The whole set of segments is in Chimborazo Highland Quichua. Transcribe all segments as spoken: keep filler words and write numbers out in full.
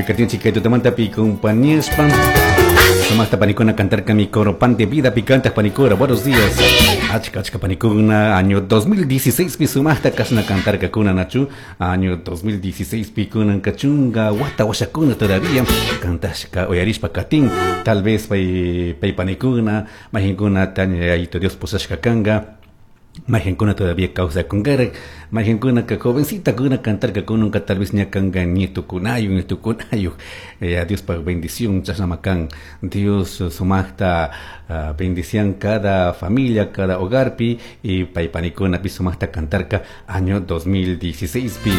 Katinchi kay tutamantapi compañíaspa. Sumaqta panikuna cantarka mi coro pan de vida picante panikura. Buenos días. Achka achka panikuna año dos mil dieciséis pi sumaqta kasna cantarka kuna nachu. Año dos mil dieciséis pi kunan kachunga wata washakuna todavía cantashka oyarishpa katin. Tal vez pay pay panikuna majinkuna taña Dios posashka kanga. Majinkuna todavía causa con gara, majinkuna que jovencita kuna cantar que con nunca tal vez ñakanga nieto kunayo nieto kunayo. Eh, a Dios para bendición chasnamakan Dios sumaqta uh, bendición cada familia, cada hogar pi y paypanikuna pi sumaqta cantarka año dos mil dieciséis pi.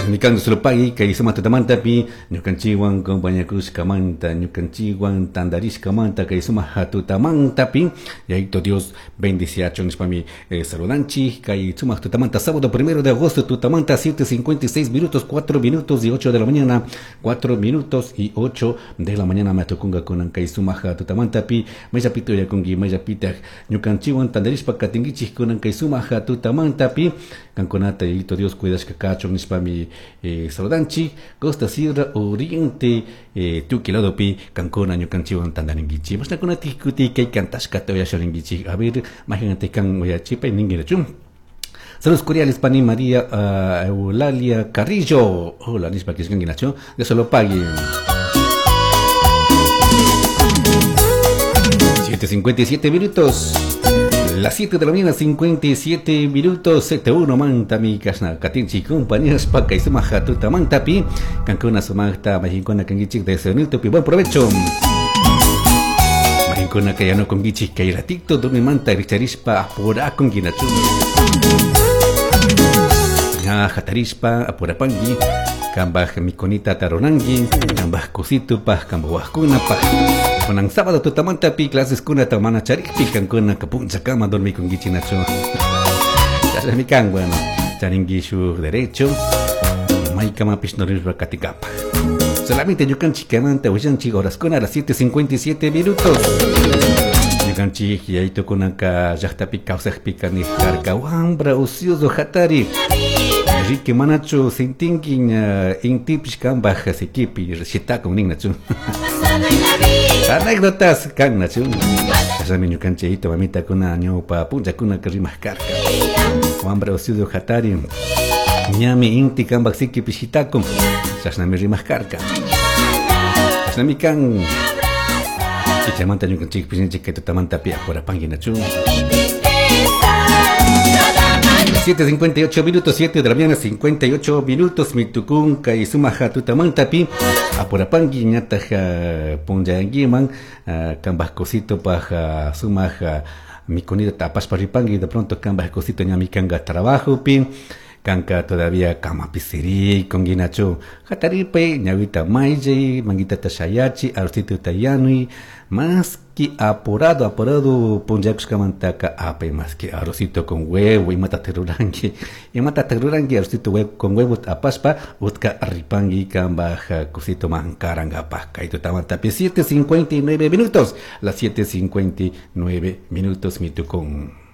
Nikando solo pagui kay suma tutamanta pi ñukanchiwan compañakushkamanta ñukanchiwan tandarishkamanta kay suma hatutamanta pi yayito Dios bendiciacho nishpami eh, saludanchi kay suma tutamanta sábado primero de agosto tutamanta siete cincuenta y seis minutos cuatro minutos y ocho de la mañana cuatro minutos y ocho de la mañana matukunga kunan kay suma hatutamanta pi mayapito yakungi mayapita ñukanchiwan tandarishpa katinkichik kunan kay suma hatutamanta pi kankunata yayito Dios cuidashka kachun nishpami Eh, saludanchi Costa Sierra Oriente eh, tukiladopi kankuna ñukanchiwan tandarinkichi mashnakuna tikuti kay kantashkata uyasharinkichi a ver imagínate kan uyachipa ninguinachu. Saludos cordiales pani María uh, Eulalia Carrillo. Hola nishpa kishkanguinachu Dios lo pague. siete cincuenta y siete minutos. Las siete de la mañana, cincuenta y siete minutos, siete uno, manta mi kasna katinchi compañeros pa kay sumaja tuta mantapi, kankuna sumaqta majinkuna kankichik de ese pi buen provecho. Majinkuna kayano konkichik kay ratito dormi manta richarishpa apura konkinachu. Ya jatarishpa apurapangi, kambaj mikonita taronangi, kambaj cosito paj, kambaj wajkuna paj. Kunan sábado tutamanta pi clases kuna tamana charikpi kankuna kapuncha kama dormi kungichi nacho. Chasmikan bueno, charingi shu derecho. Maykama pishnorisba katikapa. Solamente ñukanchi kamanta willanchi horas kuna a las siete cincuenta y siete minutos. Ñukanchi yayito kunanka llaqtapi kawsaqpi kanijkarka wambra ocioso hatari. Rique manacho sintinki intipish kambaj sikipi shitakun ninnachu. Anécdotas kan nachu. Kasami ñukanchi yayito mamita kuna ñawpa puncha kuna rimaq karka. Wambra ocioso hatari. Ñami inti kambaj sikipi shitakun. Chashnami rimaq karka. Chashnami kan. Ichamanta ñukanchik pishinchik kay tutamanta pi apurapanki nachu. siete cincuenta y ocho minutos, siete de la mañana, cincuenta y ocho minutos, mitukun kay sumaja tutamantapi, apurapanki ñataja punllanguiman, kambaj cosito paja sumaja mikonita tapashpa ripanki, de pronto kambaj cosito ñami kanga trabajo pi, kanka todavía kamapi siri konguinachu, hataripe, ñawita mayllay, manguita tashayachi, arrocito tayanui, más que apurado, apurado, punllakushkamantaka apay más que arrocito con huevo, imata terurangi, imata terurangi, arrocito huevo, con huevo apashpa, utka ripangi, kambaj, cosito mankarangapaj, kaito tamantapi, siete cincuenta y nueve minutos, las siete cincuenta y nueve minutos, mitukun.